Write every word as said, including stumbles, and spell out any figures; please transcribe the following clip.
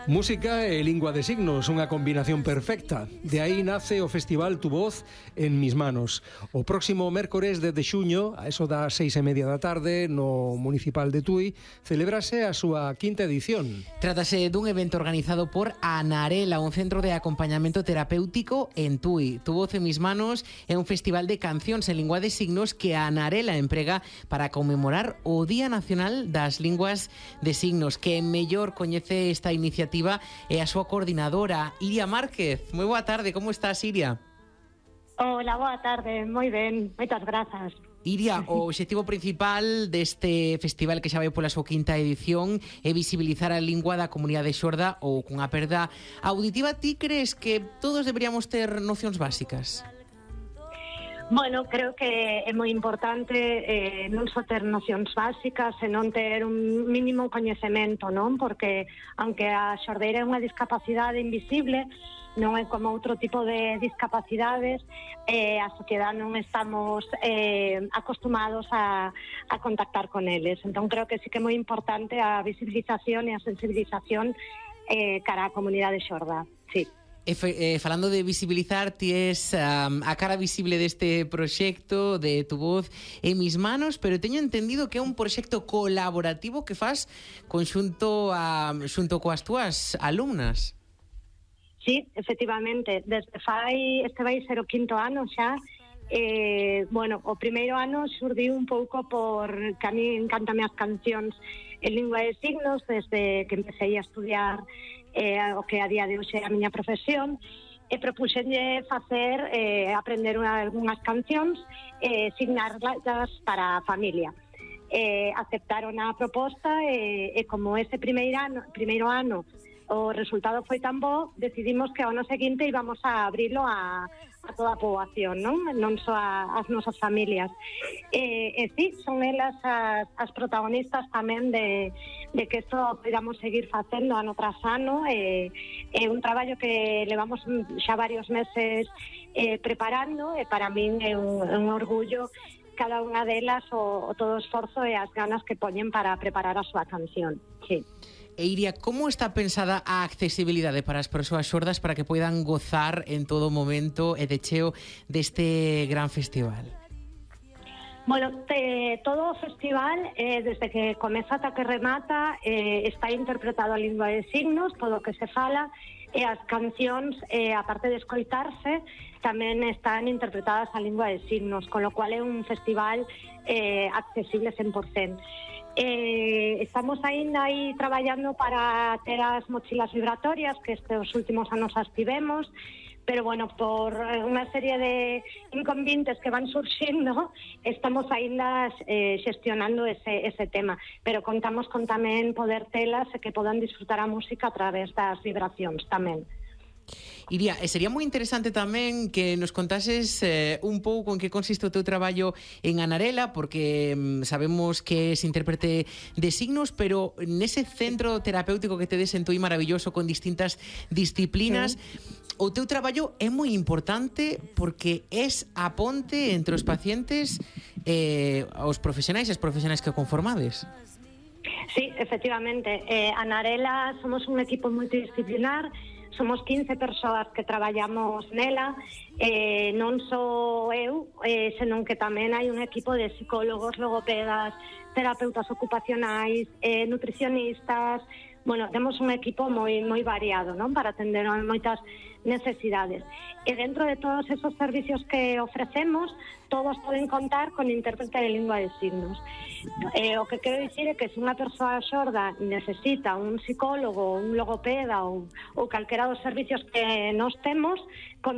Música e lingua de signos, unha combinación perfecta. De aí nace o festival Tu Voz en Mis Manos. O próximo mércores de xuño, a eso das seis e media da tarde, no Municipal de Tui, celebrase a súa quinta edición. Trátase dun evento organizado por Anarela, un centro de acompañamento terapéutico en Tui. Tu Voz en Mis Manos é un festival de cancións en lingua de signos que Anarela emprega para conmemorar o Día Nacional das Linguas de Signos. Que mellor coñece esta iniciativa é a súa coordinadora, Iria Márquez. Moi boa tarde, como estás, Iria? Hola, boa tarde, moi ben, moitas grazas. Iria, o obxectivo principal deste festival que xa vai pola súa quinta edición é visibilizar a lingua da comunidade xorda ou cunha perda auditiva. Ti crees que todos deberíamos ter nocións básicas? Bueno, creo que é moi importante eh, non só ter nocións básicas, senón ter un mínimo coñecemento, non? Porque, aunque a xordeira é unha discapacidade invisible, non é como outro tipo de discapacidades, eh, a sociedade non estamos eh, acostumados a, a contactar con eles. Entón, creo que sí que é moi importante a visibilización e a sensibilización eh, cara á comunidade xorda, sí. E fe, eh, falando de visibilizar, ti es um, a cara visible deste proxecto de Tu Voz en Mis Manos, pero teño entendido que é un proxecto colaborativo que faz conxunto a, xunto coas túas alumnas. Sí, efectivamente, desde fai, este vai ser o quinto ano xa. Eh, bueno, o primeiro ano xurdiu un pouco por que a mí encantame as cancións en lingua de signos desde que empecé a estudiar eh, o que a día de hoxe é a miña profesión, e propuxenlle facer eh, aprender unha, algunhas cancións e eh, signarlas para a familia. Eh, aceptaron a proposta e, e como ese primeiro ano, primeiro ano o resultado foi tan bo, decidimos que ao ano seguinte íbamos a abrilo a, a toda a poboación, non? Non só a, as nosas familias. E, e sí, son elas as, as protagonistas tamén de, de que isto podamos seguir facendo ano tras ano. É, é un traballo que levamos xa varios meses eh, preparando, e para min é un, un orgullo cada unha delas o, o todo o esforzo e as ganas que poñen para preparar a súa canción, sí. E Iria, como está pensada a accesibilidade para as persoas xordas para que poidan gozar en todo momento e de cheo deste gran festival? Bueno, te, todo o festival, eh, desde que comeza ata que remata, eh, está interpretado a lingua de signos, todo o que se fala, e as cancións, eh, aparte de escoitarse, tamén están interpretadas a lingua de signos, con lo cual é un festival eh, accesible cen por cento. Eh, estamos aínda aí traballando para ter as mochilas vibratorias, que estes últimos anos as tivemos, pero bueno, por unha serie de inconvenientes que van surxindo, estamos aínda eh, xestionando ese, ese tema, pero contamos con tamén poder telas e que podan disfrutar a música a través das vibracións tamén. Iria, e sería moi interesante tamén que nos contases eh, un pouco en que consiste o teu traballo en Anarela, porque mm, sabemos que es intérprete de signos, pero nese centro terapéutico que tedes en Tui maravilloso con distintas disciplinas, sí. O teu traballo é moi importante porque es a ponte entre os pacientes e eh, os profesionais e as profesionais que conformades. Sí, efectivamente. Eh, Anarela somos un equipo multidisciplinar. Somos quince persoas que traballamos nela, eh, non só eu, eh, senón que tamén hai un equipo de psicólogos, logopedas, terapeutas ocupacionais, eh, nutricionistas. Bueno, temos un equipo moi moi variado, non? Para atender a moitas necesidades. E dentro de todos esos servicios que ofrecemos, todos poden contar con intérprete de lingua de signos. Eh, o que quero dicir é que se unha persoa xorda necesita un psicólogo, un logopeda ou, ou calquera dos servicios que nós temos,